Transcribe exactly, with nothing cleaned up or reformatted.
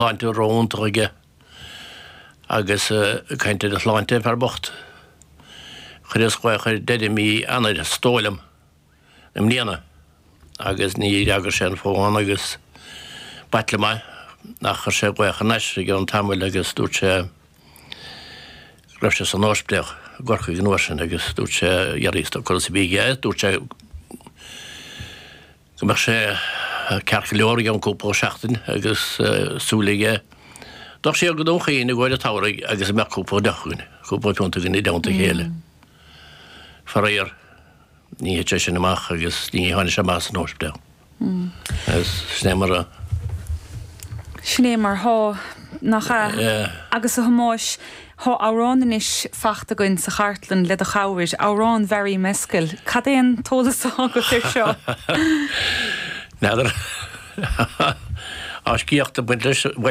Sláinte ró-iontach aige agus ag caint ar a shláinte, an fear bocht. Chuireas glaoch air deireadh mí Eanáir, is dóigh liom, i mbliana agus ní fhreagair sé an fón agus b'ait liom é ach chuir sé glaoch thar n-ais i gceann tamaill agus dúirt sé go raibh sé san ospidéal i gCorcaigh an uair sin agus dúirt sé dheartháir is conas a bhí aige, dúirt sé go mbeadh sé ceart go leor i gceann cúpla seachtain agus súil aige dul siar go Dún Chaoin i gcomhair an tsamhraidh agus go mbeadh cúpla deoch againn, cúpla piúnta againn i dteannta a chéile. Faraor, ní thit sé sin amach agus ní tháinig sé amach as an ospidéal. Sin é mar a. Sin é mar thá, nach ea? Agus a Thomáis, thá amhrán anois fachta againn sa chartlann le do chabhair, amhrán Mhary Mescal. Cad é an t-eolas athá agat air seo? N'fheadar. Tá sciacht ag baint leis.